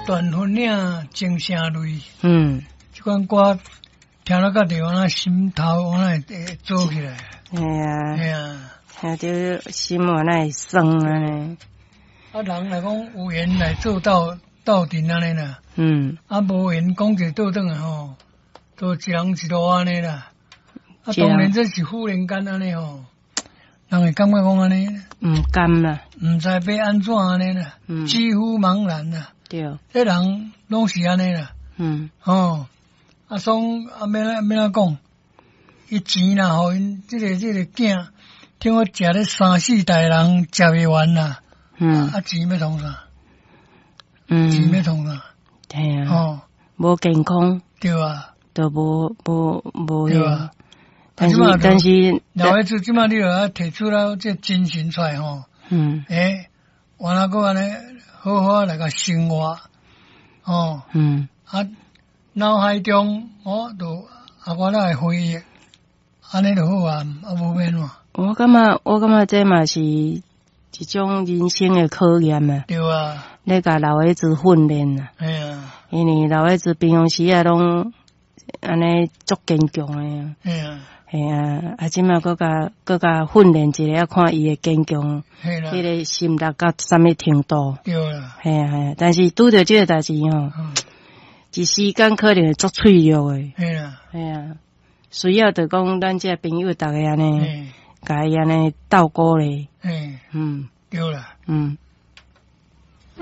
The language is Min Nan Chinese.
斷分嶺情聲淚。這款歌聽了到地方，那心頭我會做起來。係啊。係啊。聽著心我那會酸按呢。啊，人來講有緣來做鬥鬥陣按呢啦。啊，無緣講一個倒轉來吼，都一人一路按呢啦。啊，當然這是忽然間按呢吼，人會感覺講按呢。毋甘啦。毋知欲按怎按呢啦。幾乎茫然啦。這人攏是按呢啦。吼，啊，所以啊，欲按怎講？伊錢若予𪜶這個囝，聽講食咧三四代人食袂完啦。啊，錢欲創啥？錢欲創啥？係啊。吼，無健康。對啊。就無無無對啊。但是，老爺子這馬你著愛提出了這精神出來吼。欸，原來閣按呢好好來共生活，吼。啊，腦海中我就啊，我來回憶，按呢就好啊，啊無欲按怎。我感覺這嘛是一種人生的考驗啊。對啊。咧共老爺子訓練啊。係啊。因為老爺子平常時啊，攏按呢足堅強的。係啊。係啊，啊，這馬閣共訓練一下，看伊的堅強，彼個心力到啥物程度。對啦。係啊係啊，但是拄著這個代誌吼，一時間可能會足脆弱的。係啊。係啊，需要就講咱這朋友逐家按呢，共伊按呢鬥鼓勵。對啦。無